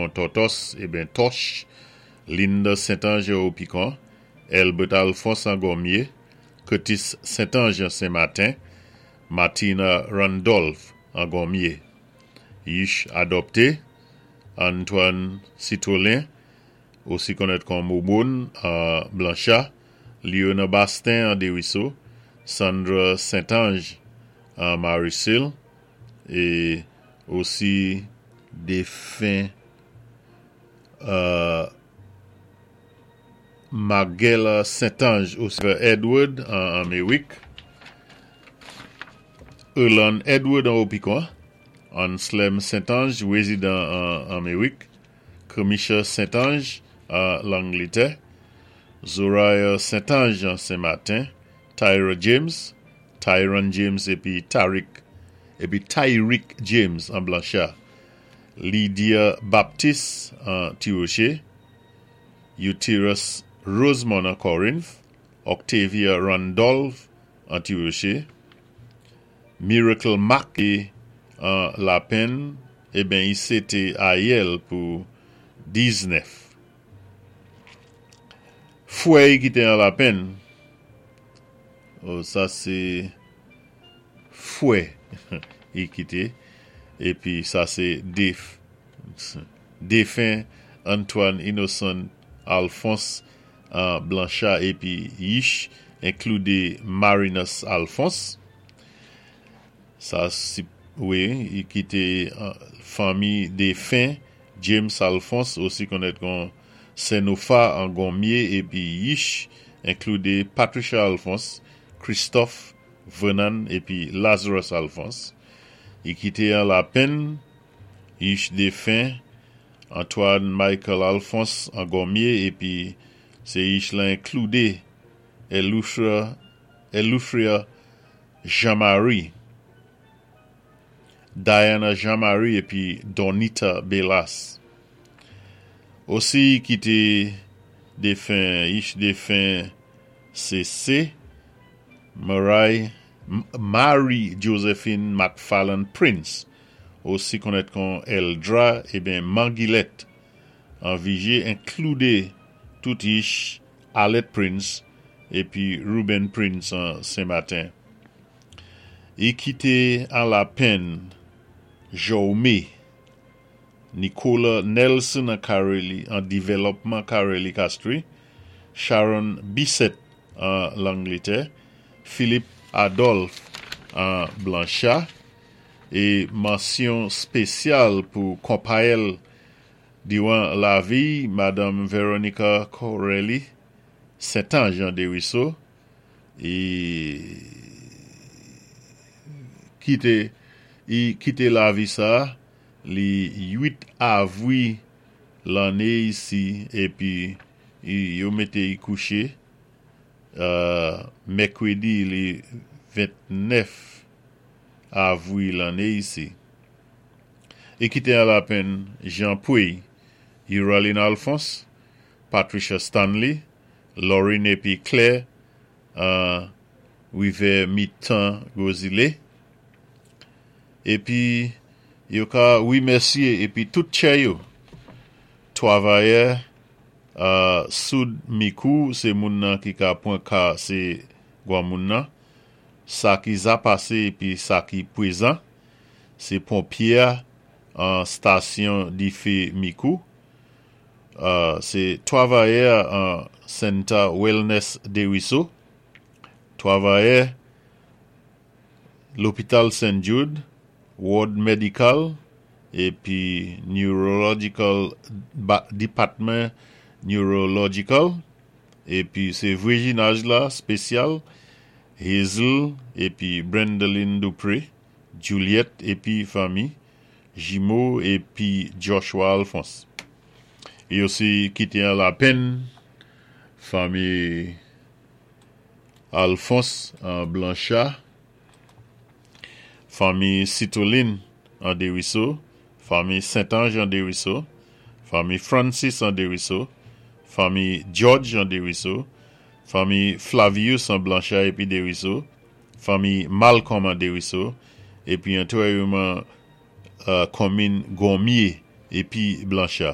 kon Tòtòs, eben Tòch, Linda Saint-Ange Opicon, Elbert Alphonse an Gommier, Curtis Saint-Ange an Saint-Martin, Martina Randolph an Gommier. Yich adopté, Antoine Citrolin, osi konnèt kon Momone an Blanchard, Léona Bastin an Desruisseaux, Sandra Saint-Ange an Marisil, é osi défen Margella Saint-Ange osi Edward an Amérik, Erland Edward an Opicon, Anselm Saint-Ange, rézidan an Amérik, Kermisha Saint-Ange an Langlétè, Zoraya Saint-Ange an Saint-Martin, Tyra James, Tyron James épi Tariq épi Tyrick James an Blanchard, Lydia Baptiste an Tirocher, Uterus Rosemond an Corinth, Octavia Randolph an Tirocher, Miracle Mack an Lapenn, eben i sété ayèl pou 19. Fwèy ki té an Lapenn, oh, sa sé fwè i kité, épi sa sé défen Antoine Innocent Alphonse an Blanchard épi Yich enkloudé Marinus Alphonse. Sa wi, i kité fanmi défen James Alphonse, osi konnèt kon Senofa an Gommier, épi Yich enkloudé Patricia Alphonse, Christophe Vernon épi Lazarus Alphonse. I kité an Lapenn Yich défen Antoine Michael Alphonse an Gommier, épi sé yich la enkloudé Eleuthria Jean-Marie, Diana Jean-Marie épi Donita Belas. Osi kité défen yich défen CC Marie Marie Josephine McFarland Prince, osi konnèt kon Eldra, eben Manguilette an Viger, enkloudé tout yich Arlette Prince épi Ruben Prince an Saint-Martin. I kité an Lapenn Jaume Nicola Nelson an Careli an Développement Careli Castries, Sharon Bissett an Langlétè, Philippe Adolphe an Blanchard, é mansyon spésyal pou konpayèl diwan lavi, Madame Veronica Corelli Saint-Ange an Desruisseaux, i kité i kité lavi sa li 8 avwi lanné isi, épi yo mété i kouché mèkwédi li 29 avwi lanné isi. I kité an Lapenn Jean Pouy, Uraline Alphonse, Patricia Stanley, Laurine épi Claire an Rivyè Mitan Gros-Islet. Épi yo ka wimèsyé épi tout tchè yo. Twavayè soud Mikou sé moun nan ki ka pwan ka sé gwanmoun nan. Sa ki za pasé épi sa ki pwézan. Sé ponpyé a an stasyon difé Mikou. Sé twavayè an Center Wellness Desruisseaux. Twavayè lopital St. Jude, Ward Medical épi Neurological Department Neurological, épi sé vwéjinaj la spésyal Hazel épi Brendeline Dupré, Juliette épi fanmi, Jimo épi Joshua Alphonse. I osi kité an Lapenn fanmi Alphonse an Blanchard, fanmi Citoline an Desruisseaux, fanmi Saint-Ange an Desruisseaux, fanmi Francis an Desruisseaux, fanmi George an Desruisseaux, fanmi Flavius an Blanchard épi Desruisseaux, fanmi Malcolm an Desruisseaux, épi antwèyèman konmin Gommier épi Blanchard.